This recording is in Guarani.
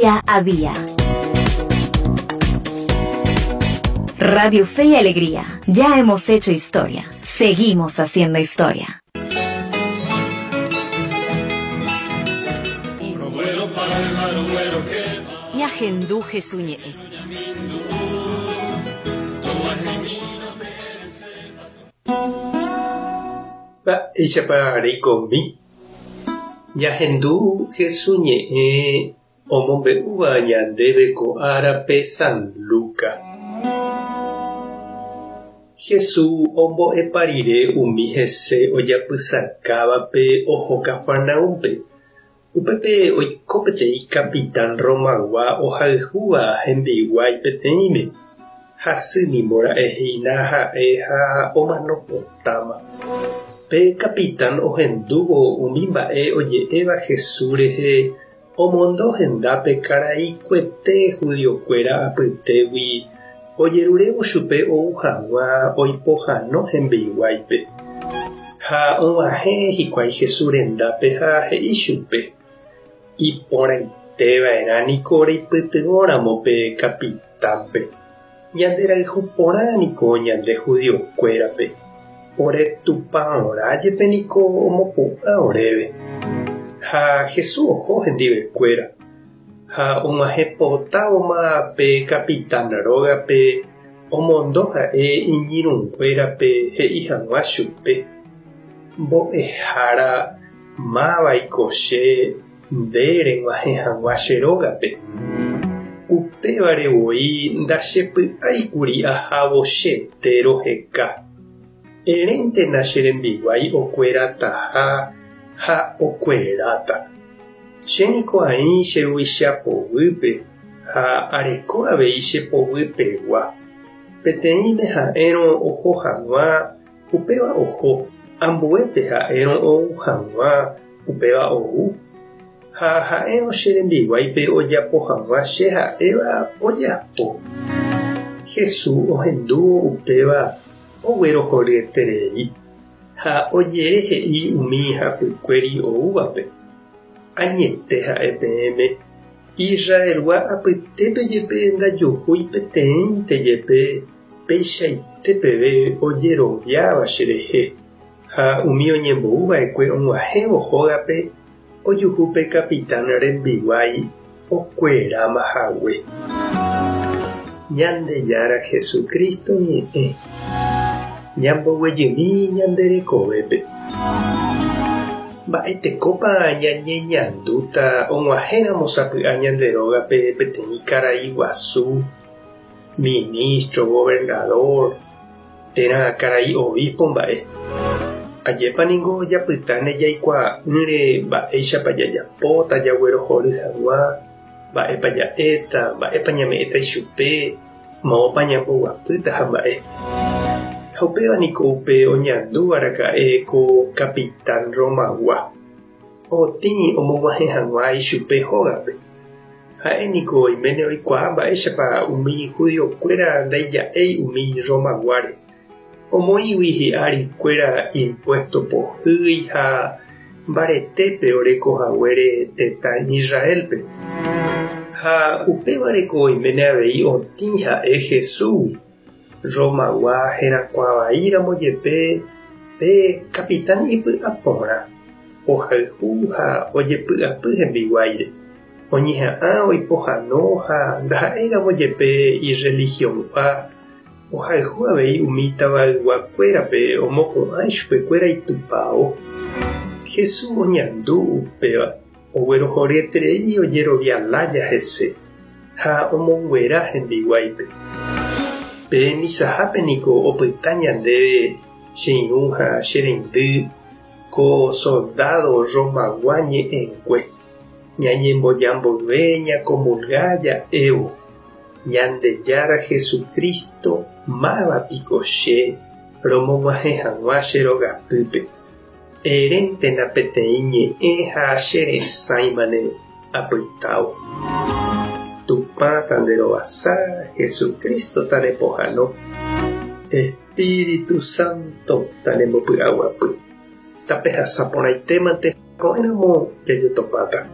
Día a día. Radio Fe y Alegría. Ya hemos hecho historia. Seguimos haciendo historia. Ñahendu Hesu ñe'ẽ. Mba'éichapa reikomi? Ñahendu Hesu ñe'ẽ omombe'úva ñandéve ko árape San Luca. Hesu ombo'epa rire umi hese ojapysakávape oho Cafarnaúmpe. Upépe oiko peteĩ capitán Romagua ohayhúva hembiguái peteĩme. Hasy nimbora'e hína ha'e ha omano potáma. Pe capitán ohendúvo umi mba'e oje'éva Jesús rehe omondo hendápe karai kuete judiokuéra apytégui ojerurévo chupe ou hag̃ua oipohano hembiguáipe. Ha og̃uahẽ hikuái Jesús rendápe ha he'i chupe, Iporãite va'erã niko reipytyvõramo pe capitánpe. Ñande rayhu porã niko ñande judiokuérape. Ore tupãorã jepe niko omopu'ã oréve. Ha Jesús oho hendivekuéra. Ha og̃uahẽ potávoma pe capitán rógape omondo ha'e iñirũnguérape he'i hag̃ua chupe, Mbo'ehára, mávaiko che nde reg̃uahẽ hag̃ua che rógape? Upévare voi ndachepy'áikuri ahávo chete roheka. Eréntena che rembiguái okuerataha ha okueráta. Che niko aĩ che ruvicha poguýpe ha areko avei che poguypegua. Peteĩme ha'érõ oho hag̃ua, upéva oho, ambuépe ha'érõ ou hag̃ua, upéva ou. Ha ha'érõ che rembiguáipe ojapo hag̃ua che ha'éva, ojapo. Jesús ohendúvo upéva oguerohoryeterei. Ha ojere he'i umi hapykuéri oúvape, Añete ha'e peẽme, Israelgua apytépe jepe ndajuhúi peteĩnte jepe peichaite peve ojeroviáva cherehe. Ha umi oñembou va'ekue og̃uahẽvo hógape ojuhu pe capitán rembiguái okueráma hague. Ñandejára Jesucristo ñe'ẽ ñamboguejymi ñande rekovépe. Mba'etekópa ñañeñandúta og̃uahẽramo sapy'a ñande rógape peteĩ karai guasu, ministro, gobernador, térã karai obispo mba'e? Ajépa ningo japytáne jaikuaa'ỹre mba'éichapa jajapóta jaguerohory hag̃ua mba'épa ja'éta, mba'épa ñame'ẽta ichupe, moõpa ñamboguapýta ha mba'e. Ha upéva niko upe oñandúva raka'e ko capitán Romagua, otĩ omog̃uahẽ hag̃ua ichupe hógape. Ha'e niko oiméne oikuaa mba'éichapa umi judiokuéra ndaija'éi umi Romaguáre, omoĩgui hi'arikuéra impuésto pohýi ha mbaretépe oreko haguére tetã Israélpe. Ha upévareko oiméne avei otĩ ha'e Jesúsgui, Romagua herakuã vaíramo jepe pe kapitán ipy'aporã, ohayhu ha ojepy'apy hembiguáire. Oñeha'ã oipohano ha ndaha'éiramo jepe irrelihiongua, ohayhu avei umi tavayguakuérape omopu'ã ichupekuéra itupao. Jesús oñandu upéva, oguerohoryeterei ojerovia lája hese ha omonguera hembiguáipe. Pe misahápe niko opyta ñandéve che irũ ha che reindy ko soldádo Romagua ñe'ẽngue. Ñañemboja mboyve ñakomulga ja'évo, Ñandejára Jesucristo, máva piko che romog̃uahẽ hag̃ua che rogapýpe? Eréntena peteĩ ñe'ẽ ha che resãimane apytávo. Tupã tanderovasa, Jesucristo tanepohãno, Espíritu Santo tanembopy'aguapy. Tapehasa porãitémante ko'ẽramo jajotopáta.